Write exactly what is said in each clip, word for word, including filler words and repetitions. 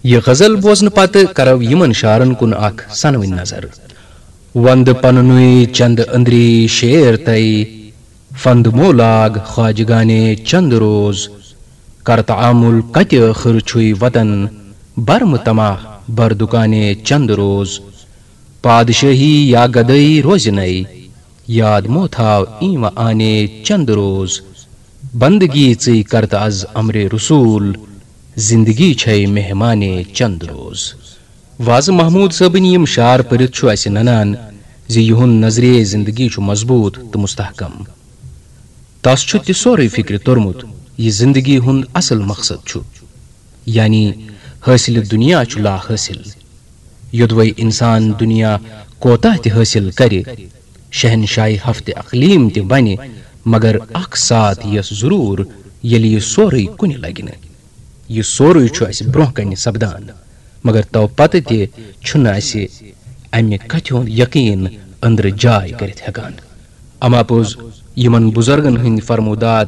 یہِ غزل بوزنہٕ پتہٕ کرو یِمن شعرن کُن اکھ سنوٕنۍ نظر۔ وندٕ پننُے چند أندری شعر تۄہہِ، فند مولاگ خواجگانے چند روز۔ کر تعامل کتہِ ٲخر چھُے وطن، برمہٕ تماہ بر دُکانے چند روز۔ پادشٲہی یا گدٲیی روزِ نَے، یاد مو تھاو ایٖنٛوہ آنے چند روز۔ بندگی ژٕے کرتہٕ از امرِ رسول، زندگی چھے مہمانے چند روز۔ وازٕ محمود صٲبٕنۍ یِم شعر پٔرِتھ چھُ اسہِ ننان زِ یِہُنٛد نظریہ زندگی چھُ مضبوط تہٕ مستحکم۔ تس چھُ تہِ سورُے فکرِ توٚرمُت، یہِ زندگی ہُنٛد اصل مقصد چھُ، یعنی حٲصِلِ دُنیا چھُ لا حٲصِل۔ یوٚدوَے انسان دُنیا کوتاہ تہِ حٲصِل کرِ، شہنشاہی ہفتِ اقلیٖم تہِ بنہِ، مگر اکھ ساتھ یِیَس ضروٗر، ییٚلہِ یہِ سورُے کُنہِ لگہِ نہٕ۔ یہِ سورُے چھُ اسہِ برونٛہہ کنہِ سپدان، مگر تو پتہٕ تہِ چھُنہٕ اسہِ امہِ کتھِ ہُنٛد یقین أنٛدرٕ جاے کٔرِتھ ہٮ۪کان۔ اما پوٚز، یِمن بُزرگن ہٕنٛدۍ فرمودات،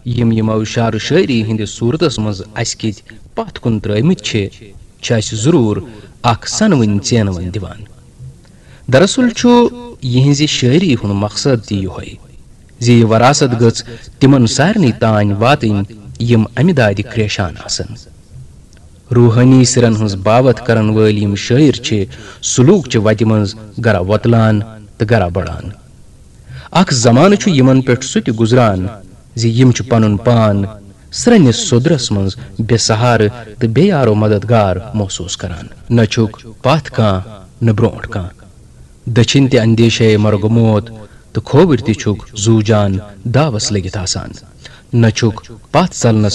یِم یِمو شعر و شٲعری ہٕنٛدِس صوٗرتس منٛز اسہِ کِتۍ پتھ کُن ترٲومٕتۍ چھِ، چھِ اسہِ ضروٗر اکھ سنوٕنۍ ژینوٕنۍ دِوان۔ دراصل چھُ یِہنٛزِ شٲعری ہُنٛد مقصد تہِ یِہوٚے زِ یہِ وراثت گٔژھ تِمن سارنٕے تام واتٕنۍ، یِم امہِ دادِ کریشان آسن۔ روحٲنی سِرن ہٕنٛز باوتھ کرن وٲلۍ یِم شٲعر چھِ، سلوک چہِ وتہِ منٛز گرا وۄتلان تہٕ گرا بڑان۔ اکھ زمانہٕ چھُ یِمن پٮ۪ٹھ سُہ تہِ گُزران زِ یِم چھِ پنُن پان سرٛنِس سوٚدرس منٛز بے سہارٕ تہٕ بے یارو مددگار محسوس کران۔ نہ چھُکھ پتھ کانٛہہ، نہ برونٛٹھ کانٛہہ۔ دٔچھِنۍ تہِ اندیشے مرگ موت تہٕ کھووٕرۍ تہِ چھُکھ زوٗ جان داوس لٔگِتھ آسان۔ نہ چھُکھ پتھ ژلنس